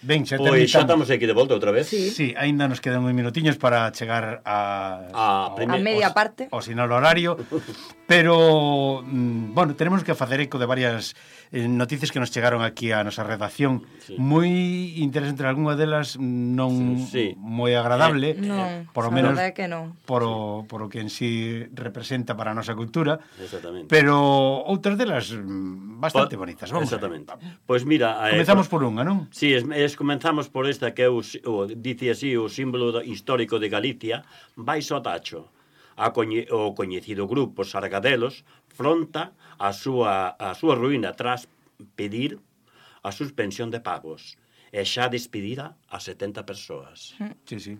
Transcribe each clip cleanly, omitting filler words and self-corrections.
Ben, xa Pois xa terminamos. estamos aquí de volta outra vez. Sí, aínda nos quedan uns minutiños para chegar A media parte. ao sinal horario, pero, bueno, tenemos que facer eco de varias noticias que nos chegaron aquí a nosa redacción. Moi interesante, algunha delas non moi agradable, Non, por lo a menos verdade é que non. por o que en sí representa para a nosa cultura, Exactamente. pero outras delas bastante bonitas. Vamos. Exactamente. Pois mira, Comezamos por unha, non? Sí, comenzamos por esta que é dice así, o símbolo histórico de Galicia, baixo o tacho. O coñecido grupo Sargadelos fronta a súa ruína tras pedir a suspensión de pagos e xa despedida a 70 persoas. Sí, sí.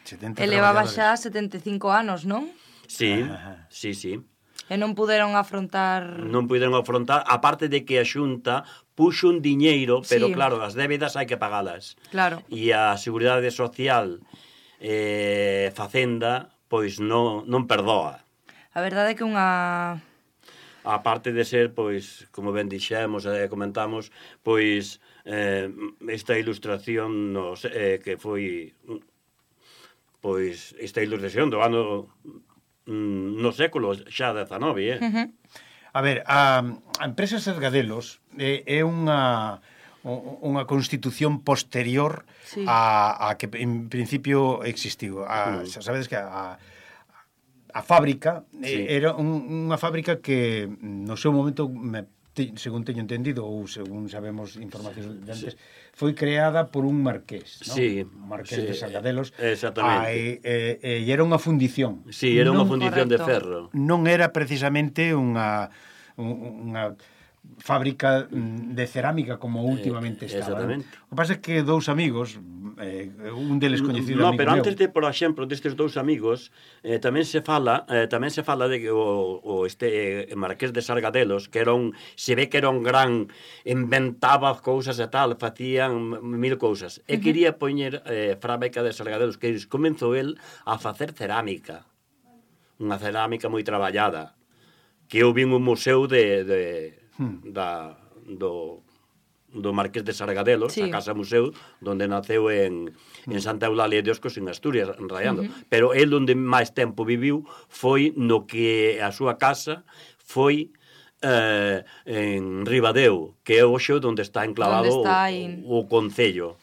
70 Elevaba traballadores. xa 75 anos, non? Sí, Ajá. sí, sí. E non puderon afrontar... Non puderon afrontar, aparte de que a Xunta puxo un diñeiro, pero Sí. claro, as débedas hai que pagalas. Claro. E a Seguridade Social Facenda, pois non perdoa. A verdade é que unha... Aparte de ser, pois, como ben dixemos e comentamos, pois esta ilustración que foi pois esta ilustración do ano no século xa 19, A ver, a empresa Sargadelos é unha constitución posterior Sí. a que en principio existiu. Xa sabedes que a fábrica era unha fábrica que no seu momento, según teño entendido ou según sabemos informacións de antes, foi creada por un marqués, non? Sí, Marqués de sí, Sargadelos. exactamente. E era unha fundición. Sí, era unha fundición de correcto. ferro. Non era precisamente unha fábrica de cerámica como últimamente estaba. exactamente. O que pasa é que dous amigos, un deles coñecido No, amigo pero meu, antes de, por exemplo, destes dous amigos, tamén se fala de que este Marqués de Sargadelos, que era se ve que era un gran, inventaba cousas e tal, facían mil cousas. E quería poñer fábrica de Sargadelos, que comenzou el a facer cerámica. Unha cerámica moi traballada. Que eu vin un museo do Marqués de Sargadelos, Sí. a Casa Museu, donde naceu en Santa Eulalia de Oscos, en Asturias, raiando. Pero el onde máis tempo viviu foi no que a súa casa foi en Ribadeo, que é hoxe onde está enclavado Onde está aí. o Concello,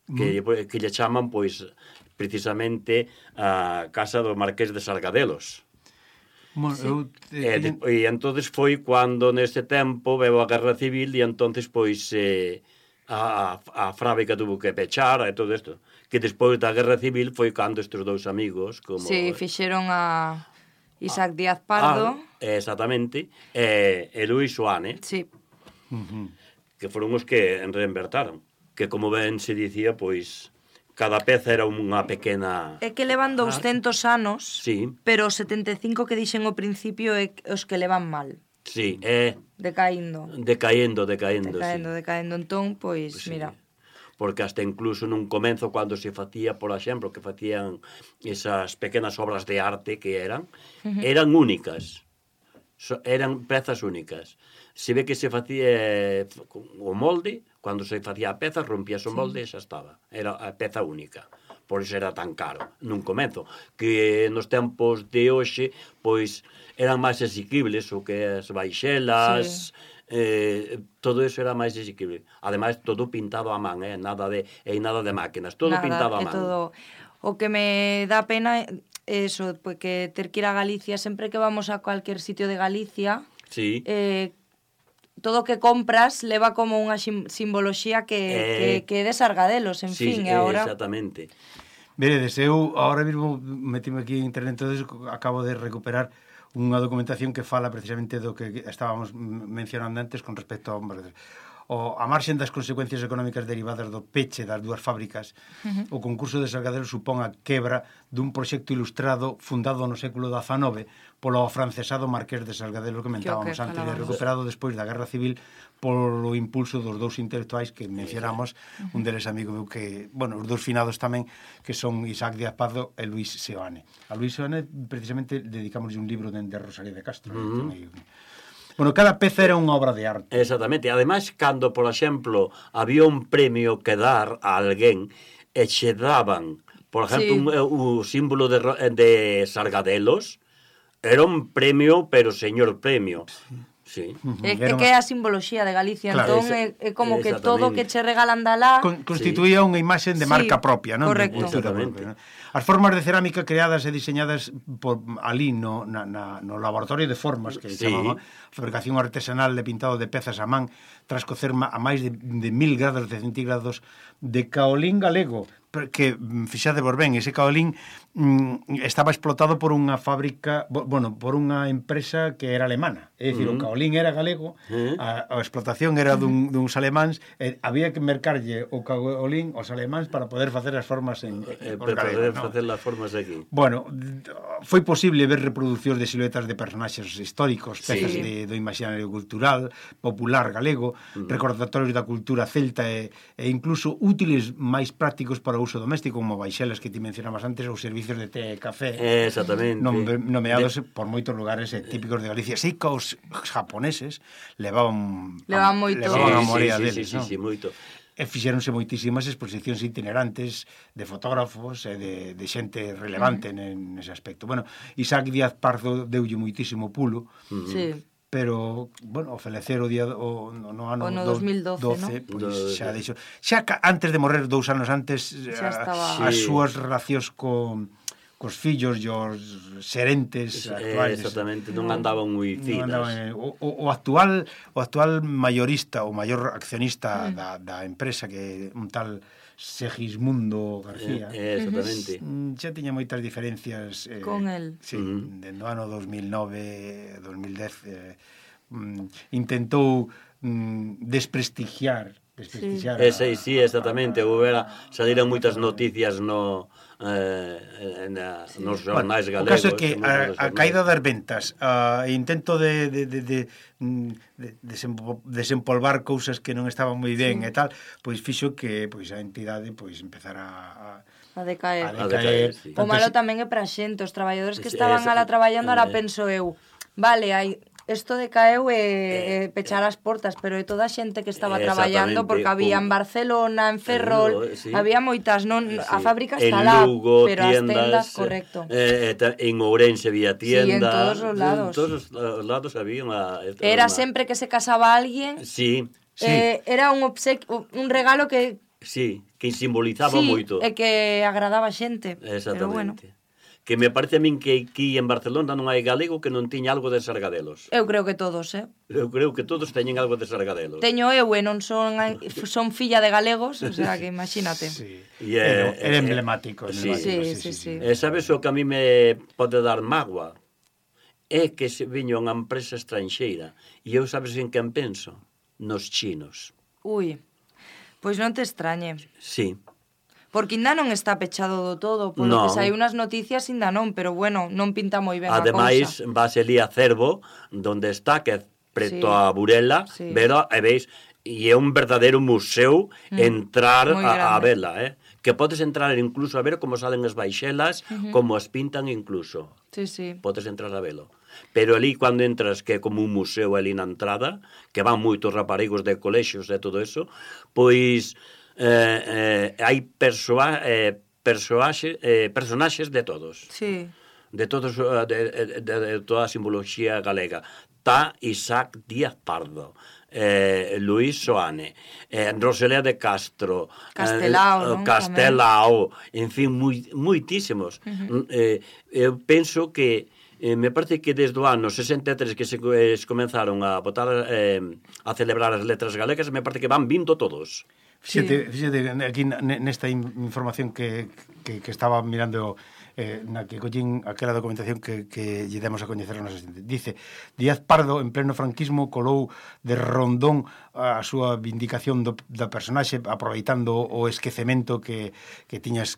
que lle chaman, pois, precisamente a Casa do Marqués de Sargadelos. Bueno, E entonces foi cando nese tempo veo a Guerra Civil e entonces pois a fábrica tuvo que pechar e todo isto. Que despois da Guerra Civil foi cando estes dous amigos como Sí, fixeron a Isaac Díaz Pardo. exactamente, e Luis Soane, Sí. que foron os que reinvertaron, que como ben se dicía, pois cada peza era unha pequena... É que levan 200 anos, Sí. pero os 75 que dixen ao principio é os que levan mal, Sí, decaíndo. decaendo, Decaendo, sí. decaendo. Entón, pois, Pues sí. mira, Porque hasta incluso nun comenzo cando se facía, por exemplo, que facían esas pequenas obras de arte que eran únicas. Eran pezas únicas. Se ve que se facía o molde, cando se facía a peza, rompías o molde e xa estaba. Era a peza única. Por iso era tan caro nun comenzo. Que nos tempos de hoxe, pois, eran máis asequibles, o que as baixelas... todo eso era máis asequible. Ademais, todo pintado a man, nada de máquinas, todo pintado a man. Todo. O que me dá pena é eso, porque ter que ir a Galicia, sempre que vamos a cualquier sitio de Galicia, Sí. todo o que compras leva como unha simboloxía que é de Sargadelos, en Sí, fin, e agora... exactamente. veredes, eu ahora mesmo metime aquí en internet, entonces acabo de recuperar unha documentación que fala precisamente do que estábamos mencionando antes con respecto a marxen das consecuencias económicas derivadas do peche das dúas fábricas. O concurso de Sargadelos supón a quebra dun proxecto ilustrado fundado no século XIX polo afrancesado Marqués de Sargadelos que mentábamos antes, e recuperado despois da Guerra Civil polo impulso dos dous intelectuais que mencionamos, un deles amigo meu que, bueno, os dous finados tamén, que son Isaac Díaz Pardo e Luis Seoane. A Luis Seoane precisamente dedicamos un libro de Rosalía de Castro. Bueno, cada peza era unha obra de arte. Exactamente. Ademais, cando, por exemplo, había un premio que dar a alguén e che daban, por exemplo, o símbolo de Sargadelos, era un premio, pero señor premio. Sí. É que é a simboloxía de Galicia, Claro, entón é como que todo que che regalan da lá constituía unha imaxe de marca propia, non? Correcto. Exactamente. Propia, non? As formas de cerámica creadas e diseñadas por ali no laboratorio de formas que chamaba fabricación artesanal de pintado de pezas a man tras cocer a máis de 1000 grados de centígrados de caolín galego, que, fixade por ben, ese caolín estaba explotado por unha fábrica, bueno, por unha empresa que era alemana. É dicir, o caolín era galego, a explotación era duns alemáns, e había que mercarlle o caolín aos alemáns para poder facer as formas en os galegos, Para facer as formas aquí. Bueno, foi posible ver reproduccións de siluetas de personaxes históricos, pezas do imaginario cultural, popular galego, recordatorios da cultura celta e incluso útiles máis prácticos para o uso doméstico, como baixelas que ti mencionabas antes, ou servicios de té e café. Exactamente. Nomeados por moitos lugares típicos de Galicia. Sí que os japoneses levaban moito. a morea deles, non? Sí, moito. E fixéronse moitísimas exposicións itinerantes de fotógrafos e de xente relevante nese aspecto. Bueno, Isaac Díaz Pardo deulle moitísimo pulo, pero, bueno, o falecer no ano 2012, pois xa deixou. Xa antes de morrer, 2 anos antes, as súas relacións cos fillos e os xerentes actuales. Exactamente, non andaban moi finas. O actual mayorista, o maior accionista da empresa, que un tal Segismundo García, exactamente. Xa tiña moitas diferencias con el. Sí, dende o ano 2009, 2010 intentou desprestigiar sí, exactamente. Saíran moitas noticias nos xornais galegos. O caso é que a caída das ventas, o intento de desempolvar cousas que non estaban moi ben e tal, pois fixo que a entidade empezara a decaer. Sí. O malo tamén é para a xente, os traballadores que estaban alá traballando, ahora penso eu, vale, isto decaeu e pechar as portas, pero é toda a xente que estaba traballando, porque había en Barcelona, en Ferrol, había moitas, non, a fábrica está lá, pero as tendas, correcto. En Ourense había tiendas. Sí, en todos os lados. En todos os lados había Era sempre que se casaba alguén. Sí. Era un obsequio, un regalo que que simbolizaba moito. E que agradaba a xente. Exactamente. Que me parece a min que aquí en Barcelona non hai galego que non tiña algo de Sargadelos. Eu creo que todos, Eu creo que todos teñen algo de Sargadelos. Teño eu e non son filla de galegos, o sea que imagínate. Era emblemático. Sí. Sabes o que a mí me pode dar mágoa? É que se viña unha empresa estranxeira e eu sabes en quen penso? Nos chinos. Ui, pois non te extrañe. Sí. Porque ainda non está pechado do todo, polo que saiu nas noticias ainda non, pero bueno, non pinta moi ben a cousa. Ademais, vas ali a Cervo, donde está, que é preto a Burela, pero, e veis, e é un verdadeiro museo entrar a vela, que podes entrar incluso a ver como salen as baixelas, como as pintan incluso. Sí. Podes entrar a velo. Pero ali, cando entras, que é como un museo ali na entrada, que van moitos raparigos de colexios e todo eso, pois hai personaxes de todos. Sí. De todos, de toda a simbología galega. Tá Isaac Díaz Pardo, Luís Soane, Rosalía de Castro, Castelao, en fin, moitísimos. Eu penso que me parece que desde o ano 63 que se comenzaron a botar a celebrar as letras galegas, me parece que van vindo todos. Fíxate, aquí nesta información que estaba mirando na que collín aquela documentación que lle demos a coñecer a nosa xente. Dice, Díaz Pardo, en pleno franquismo, colou de rondón a súa vindicación da personaxe, aproveitando o esquecemento que tiñan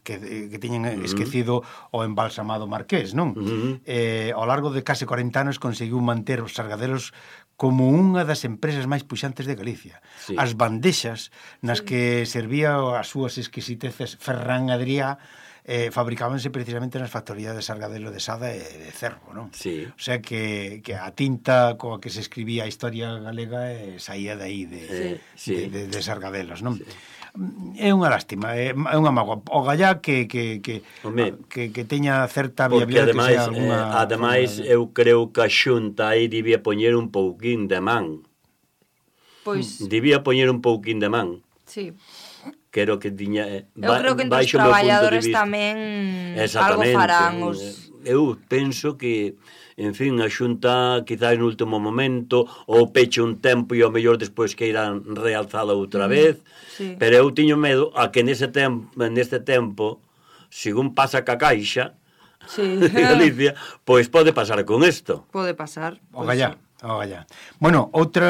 esquecido o embalsamado marqués, non? Ao largo de case 40 anos conseguiu manter os Sargadelos como unha das empresas máis puxantes de Galicia. As bandexas nas que servía as súas exquisiteces Ferran Adrià fabricábanse precisamente nas factorías de Sargadelo de Sada e de Cervo, non? Sí. O sea que a tinta coa que se escribía a historia galega saía de aí, de Sargadelos, non? Sí. É unha lástima, é unha mágoa. O gallá que teña certa viabilidade, porque ademais eu creo que a Xunta aí debía poñer un pouquín de man. Pois debía poñer un pouquín de man. Sí. Creo que tiña eu creo que entre os traballadores tamén algo farán eu penso que en fin, a Xunta quizás no último momento ou peche un tempo e ao mellor despois que irán realzala outra vez, sí. Pero eu tiño medo a que neste tempo según pasa ca Caixa de Galicia, pois pode pasar con isto. Pode pasar. O gallá. Bueno, outro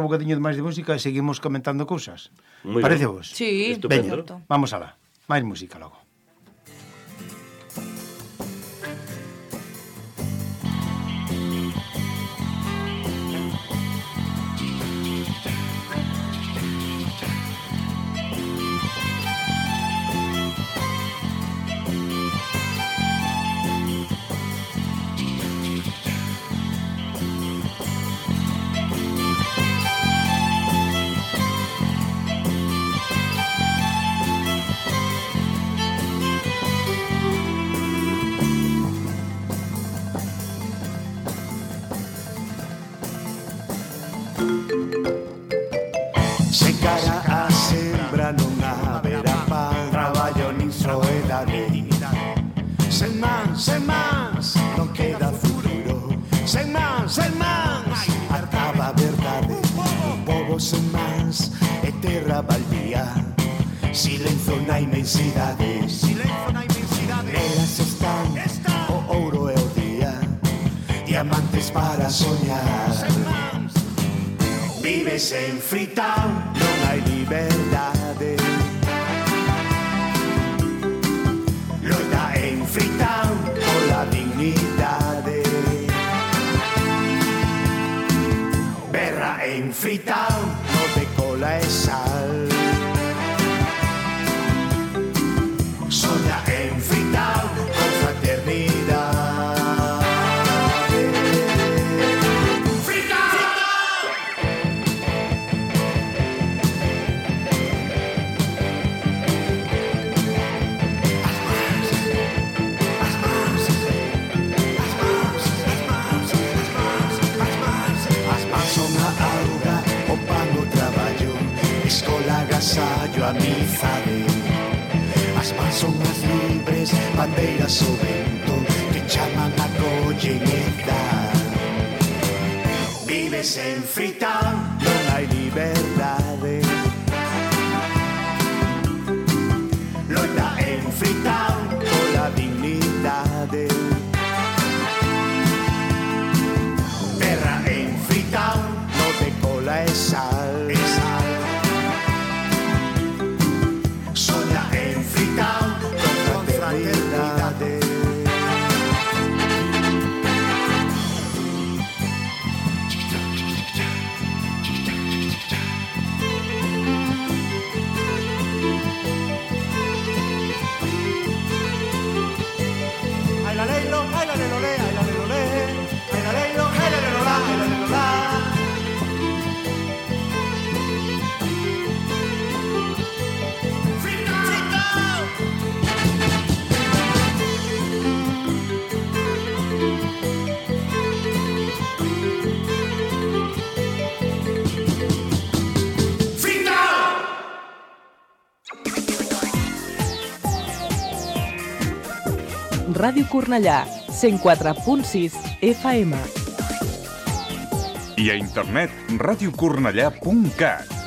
bocadiño máis de música e seguimos comentando cousas. Parece vos? Sí, estupendo. Vamos alá, máis música logo. Sen mans, non queda futuro. Sen mans, acaba a verdade. Un pobo sen mans e terra baldía. Silencio na inmensidade. Nelas están o ouro e o día. Diamantes para soñar. Vives en Freetown, non hai liberdade. Loita en Freetown pola dignidade. Berra en Freetown, no de cola e sal. Soña en Freetown con fraternidade. Agasallo, amizade. As mans son as libres, bandeiras o vento que chaman a colleñedad. Vives en Freetown, non hai liberdade. Loita en Freetown pola dignidade. Terra en Freetown, no de cola e sal. Ràdio Cornellà, 104.6 FM. I a internet radiocornellà.cat.